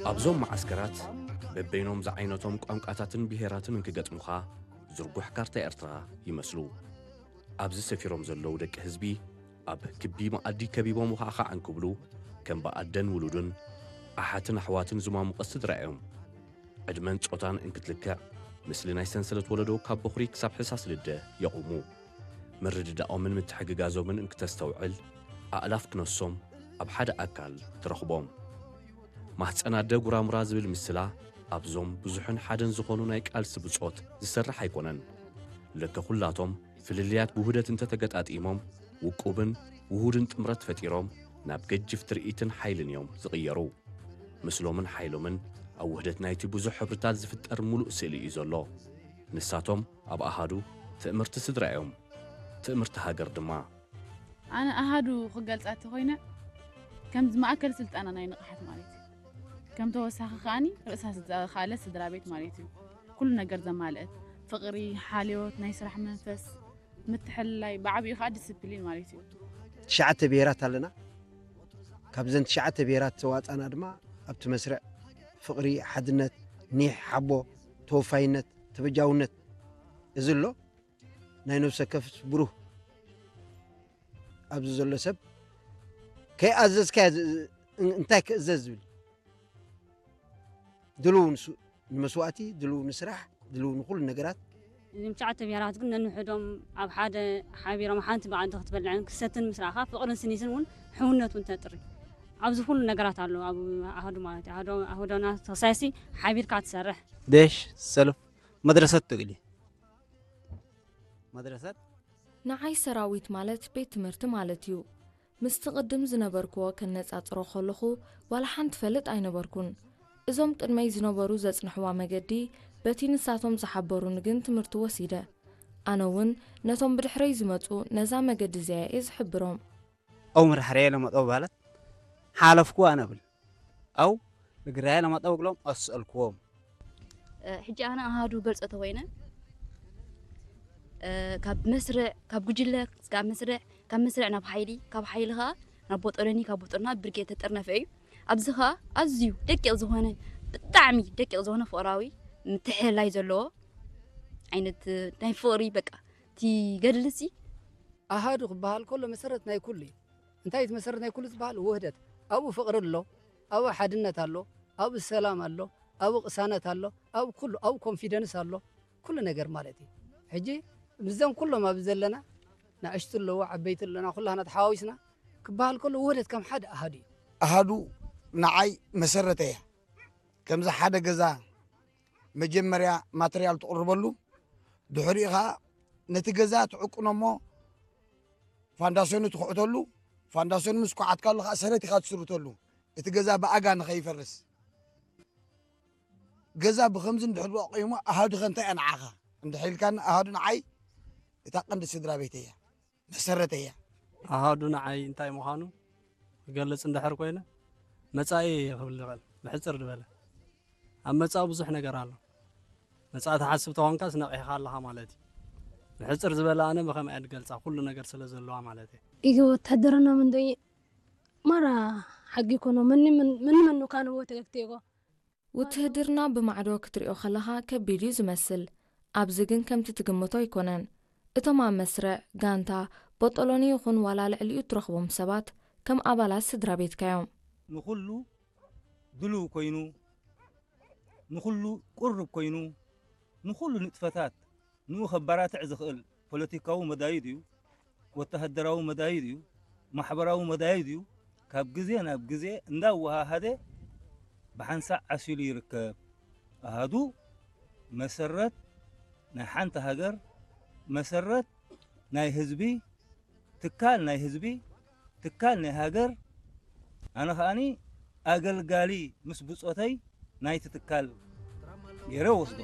ኣብዞም መዓስከራት በበይኖም ዝዓይነቶም ቋንቋታትን ብሄራትን እንክገጥሙኻ ዝርጉሕ ካርታ ኤርትራ ይመስሉ። ኣብዚ ሰፊሮም ዘለዉ ደቂ ህዝቢ ኣብ ክቢ መኣዲ ከቢቦም ውኻዕኻዕ እንክብሉ ከም ብኣደን ውሉዱን ኣሓትን ኣሕዋትን ዝማሙቐ ስድራ እዮም። ዕድመን ጾታን እንክትልክዕ ምስሊ ናይ ሰንሰለት ወለዶ ካብ በኹሪ ክሳብ ሕሳስ ልደ የቑሙ። ምርድዳኦምን ምትሕግጋዞምን እንክተስተውዕል ኣእላፍ ክነሶም ኣብ ሓደ ኣካል ትረኽቦም። ማህፀን ኣደ ጉራሙራ ዝብል ምስላ ኣብዞም ብዙሕን ሓደን ዝኾኑ ናይ ቃልሲ ብጾት ዝሰርሕ ኣይኮነን። ለከ ኩላቶም ፍልልያት ብውህደት እንተተገጣጢሞም ውቁብን ውሁድን ጥምረት ፈጢሮም ናብ ገጅፍ ትርኢትን ሓይልን እዮም ዝቕየሩ። ምስሎምን ሓይሎምን ኣብ ውህደት ናይቲ ብዙሕ ሕብርታት ዝፍጠር ሙሉእ ስእሊ እዩ ዘሎ። ንሳቶም ኣብ ኣሃዱ ትእምርቲ ስድራ እዮም። ትእምርቲ ሃገር ድማ። ኣነ ኣሃዱ ክገልጻ እንተኾይነ ከምዚ ማእከል ስልጠና ናይ ንቕሓት ማለት እዩ። ከም ተወሳኺ ከኣኒ ርእሳ ዝኸኣለ ስድራ ቤት ማለት እዩ። ኩሉ ነገር ዘማልአት ፍቕሪ፣ ሓልዮት፣ ናይ ስራሕ መንፈስ፣ ምትሕልላይ፣ ብዓቢኡ ከኣ ዲስፕሊን ማለት እዩ። ትሽዓተ ብሄራት ኣለና። ካብዘን ትሽዓተ ብሄራት ተዋጻና ድማ ኣብቲ መስርዕ ፍቕሪ፣ ሓድነት፣ ኒሕ፣ ሓቦ፣ ተወፋይነት፣ ተበጃውነት እዚ ኣሎ። ናይ ነብሰ ከፍስ ብሩህ ኣብዚ ዘሎ ሰብ ከይኣዘዝካዮ ዝ- እ- እንታይ ክእዘዝ ዝብል ድልው ንሱ ንመስዋእቲ ድልው ንስራሕ ድልው ንኩሉ ነገራት። እዞም ትሽዓተ ብሄራት ግን ነንሕዶም ኣብ ሓደ ሓቢሮም ሓንቲ መኣዲ ክትበልዕን ክሰትን ምስ ረኣኻ ፍቕርን ስኒትን እውን ሕውነት እውን ተጥሪ ኣብዚ ኩሉ ነገራት ኣሎ ኣብ ኣህዱ ማለት እዩ ኣህዶ ኣህዶና ተሳሲ ሓቢርካ ትሰርሕ ደሽ ሰልፍ መድረሰት ትግሊ መድረሰት ንዓይ ሰራዊት ማለት ቤት ትምህርቲ ማለት እዩ። ምስቲ ቅድም ዝነበርክዎ ከነጻጽሮ ከለኹ ዋላ ሓንቲ ፈልጥ ኣይነበርኩን። እዞም ቅድመይ ዝነበሩ ዘጽንሕዋ መገዲ በቲ ንሳቶም ዝሓበሩኒ ግን ትምህርቲ ወሲደ። ኣነ እውን ነቶም ብድሕረይ ዝመጹ ነዛ መገዲ እዚኣ እየ ዝሕብሮም። أو مرحرية لما طوبالت حالفكو أنا بل أو نقرايا لما طوبالت أسألكوهم ሕጂ ኣነ ኣሃዱ ገልጾ ተኮይነ ካብ መስርዕ ካብ ጉጅለ ስጋብ መስርዕ ካብ መስርዕ ናብ ሓይሊ ካብ ሓይሊ ከዓ ናብ ቦጦሎኒ ካብ ቦጦሎኒ ናብ ብርጌድ ተጠርነፈ እዩ ኣብዚ ከዓ ኣዝዩ ደቂቕ ዝኾነ ብጣዕሚ ደቂቕ ዝኾነ ፍቕራዊ ምትሕልላይ ዘለዎ ዓይነት ናይ ፍቕሪ በቃ እቲ ገድልሲ ኣሃዱ ክበሃል ከሎ መሰረት ናይ ኩሉ እዩ እንታይ እቲ መሰረት ናይ ኩሉ ዝበሃል ውህደት ኣብኡ ፍቕሪ ኣሎ ኣብኡ ሓድነት ኣሎ ኣብኡ ሰላም ኣሎ ኣብኡ ቅሳነት ኣሎ ኣብኡ ኩሉ ኣብኡ ኮንፊደንስ ኣሎ ኩሉ ነገር ማለት እዩ ሕጂ ምስዘን ኩሎም ኣብዚ ዘለና ንኣሽቱ ኣለዎ ዓበይቲ ኣለና ኩላህና ተሓዋዊስና ክበሃል ከሎ ውህደት ከም ሓደ ኣሃዱ እዩ ኣሃዱ ንዓይ መሰረተ እያ ከምዚ ሓደ ገዛ መጀመርያ ማተርያል ትቕርበሉ ድሕሪኡ ከዓ ነቲ ገዛ ትዕቅኖ እሞ ፋንዳሰኑ ትኹዕተሉ ፋንዳሰኑ ምስ ኩዓትካሉ ከዓ ሰረት ኢኻ ትስርተሉ እቲ ገዛ ብኣጋ ንኸይፈርስ ገዛ ብኸምዚ እንድሕር ኣቑሞ ኣሃዱ ኸ እንታይ እያ ንዓኻ እንድሕር ኢልካኒ ኣሃዱ ንዓይ እታ ቀንዲ ስድራ ቤተይ እያ መሰረተይ እያ ኣሃዱ ንዓይ እንታይ ምዃኑ ክገልጽ እንድሕር ኮይነ መጻኢ ክብል ዝኽእል ብሕጽር ዝበለ ኣብ መጻኢ ብዙሕ ነገር ኣሎ መጻኢ ትሓስብ ተኾንካስ ነቒሕኻ ኣለኻ ማለት እዩ ብሕጽር ዝበለ ኣነ ብኸምኣ እየ ዝገልጻ ኩሉ ነገር ስለ ዘለዋ ማለት እየ ኢገ ወታደርና ምንዶ ማራ ሓጊ ኮኖ መኒ መኑ ካንዎ ተገግቴጎ ውትህድርና ብማዕዶ ክትሪኦ ከለኻ ከቢድ እዩ ዝመስል፣ ኣብዚ ግን ከምቲ ትግምቶ ኣይኮነን። እቶም ኣብ መስርዕ፣ ጋንታ፣ ቦጦሎኒ ይኹን ዋላ ልዕሊኡ እትረኽቦም ሰባት ከም ኣባላት ስድራ ቤትካ እዮም። ንኹሉ ድሉው ኮይኑ፣ ንኹሉ ቅሩብ ኮይኑ፣ ንኹሉ ንጥፈታት ንኡ ከባራትዕ ዝኽእል ፖለቲካዊ መዳዩ ድዩ፣ ወተሃደራዊ መዳዩ ድዩ፣ ማሕበራዊ መዳዩ ድዩ፣ ካብ ግዜ ናብ ግዜ እንዳወሃሃደ ብሓንሳእ ዓሲሉ ይርከብ። ኣሃዱ መሰረት ናይ ሓንቲ ሃገር፣ መሰረት ናይ ህዝቢ፣ ትካል ናይ ህዝቢ፣ ትካል ናይ ሃገር፣ ኣነ ከኣኒ ኣገልጋሊ ምስ ብጾተይ ናይቲ ትካል ገይረ ወስዶ።